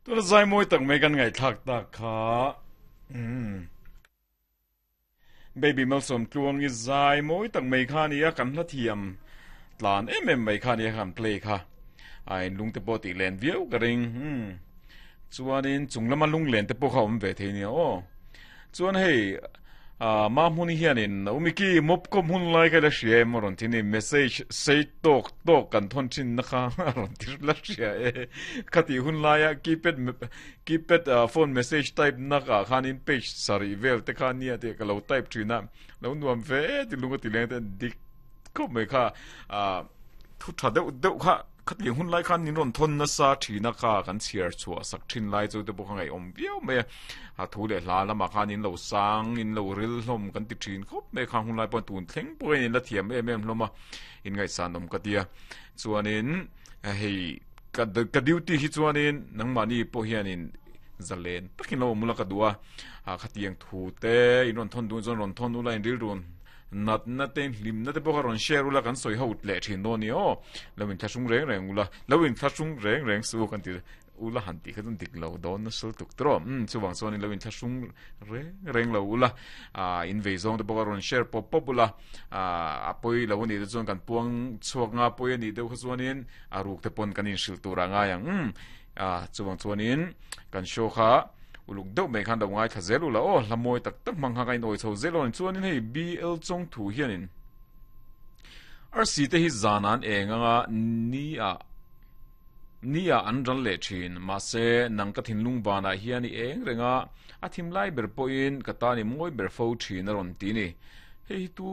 Tuna zai mawi tak mai kan ngaihthlak tak kha. Umm. Baby Malsawm tluang i zai mawi tak mai kha nia kan hla thiam tlan em em mai kha nia kan play kha. A in lung te pawh tih len viau ka ring. Umm. Chuanin chung lama lung len te pawh kha awm ve thei nia aw. Chuan hei ah Mahmuni hianin Umiki mop kawp hmun lai kha la hria em a rawn ti ni message sei tawk tawk kan thawn thin na kha a rawn ti la hria e khatih hun laia keypad keypad ah phone message type na ah khanin page sarih vel te kha nia tih ka lo type thin a lo nuam ve e ti lung a ti leng te dik khawp mai kha ah thu tha deuh deuh kha. Khatiang hun lai khan min rawn thawn nasa thin a kha kan chhiar chhuah sak thin lai chu te pawh kha ngaihawm viau mai a, a thu leh hla lamah khan in lo sang in lo ril hlawm kan ti thin khawp mai a khang hun lai pawh tun thleng pawhin in la thiam em em hlawm a in ngaihsan awm ka tia chuanin hei ka ka duty hi chuanin nangmahni pawh hianin zalen takin lo awm ula ka duh a khatiang thu te in rawn thawn duh chuan rawn thawn ula in rilru Natna te hlimna te pawh kha rawn share ula kan sawi ho leh thin dawn a ni aw. Lo inthlahrung reng reng ula, lo inthlahrung reng reng suh kan ti ula han tih kha chuan dik lo dawn nasa lutuk tawh. Umm chuvang chuan lo inthlahrung reng reng lo ula, ah in vei zawng te pawh kha rawn share pawp pawp ula, ah a pawi lo a nih te chuan kan puang chhuak nga pawi a nih deuh kha chuanin a ruk te pawn kan inhrilh tur a ngai ang. Umm ah chuvang chuanin kan show kha. Uluk deuh mai khan lo ngaithla zel ula aw, hla mawi tak tak hmang kha ka inawi chho zel aw ni. Chuanin hei BL Chawngthu hianin arsi te hi zan an eng anga ni ah ni ah an ral leh thin. Mahse nang ka thinlung vanah hian i eng reng a, a thim lai ber pawhin ka tan i mawi ber fo thin a rawn ti ni. Hei hi tu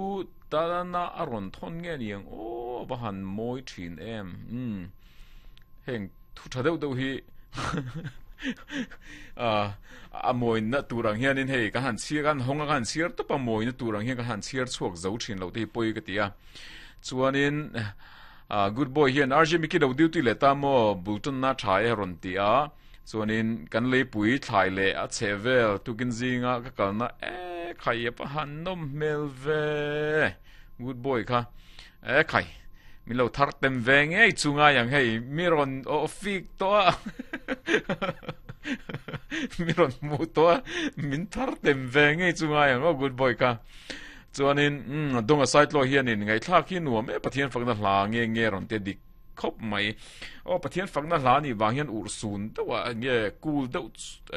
tana a rawn thawn nge niang aw va han mawi thin em. Umm heng. Thu tha deuh deuh hi a mawina tur ang hianin hei ka han chhiar ka han hawng a ka han chhiar tawp a mawina tur ang hian ka han chhiar chhuak zo thin loh te hi pawi ka ti a chuanin good boy hian RJ Mickey lo duty leh ta maw bul tanna tha e rawn ti a chuanin kan leipui thlai leh a chheh vel tukin zinga ka kalna e khai a pa han nawm hmel ve Good boy kha e khai min lo thar tem ve ngei chu ngai ang hei mi rawn aw fik tawh a mi rawn hmu tawh a min thar tem ve ngei chu ngai ang aw good boy kha chuanin um donga saitlaw hianin ngaihthlak hi nuam e pathian fakna hla nge nge rawn te dik khawp mai. Aw Pathian fakna hla nih vang hian urhsun deuh a enge cool deuh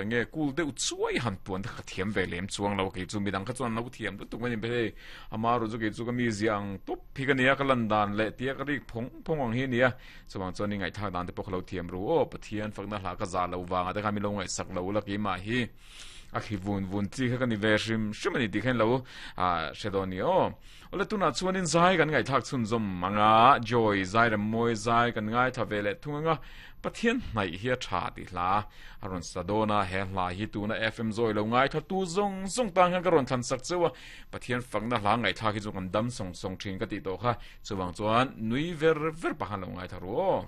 enge cool deuh chuai han puan te kha ka thiam ve lem chuang lo kei chu midang kha chuan an lo thiam lutuk mai a ni hei ama erawh chu kei chu ka mi ziah ang tawp hi ka nia ka lan dan leh tia ka rik phawng phawng ang hi a nia chuvang chuan i ngaihthlak dan te pawh ka lo thiam ru aw Pathian fakna hla ka zah loh vangah te khan min lo ngaihsak lo ula keimah hi. A khi vun vun chi kha ka ni ve hrim hrim a ni tih kha in lo hre dawn ni aw. Awle tunah chuanin zai kan ngaihthlak chhunzawm ang a, Joy zai rem mawi zai kan ngaithla ve leh thung ang a, Pathian hnaih hi a tha tih hla a rawn sa dawn a, he hla hi tuna FM zawi lo ngaithla tu zawng zawng tan khan ka rawn thlan sak cheu a, Pathian fakna hla ngaihthlak hi chu kan dam sawng sawng thin ka tih tawh kha, chuvang chuan nui ver ver pah khan lo ngaithla ru aw.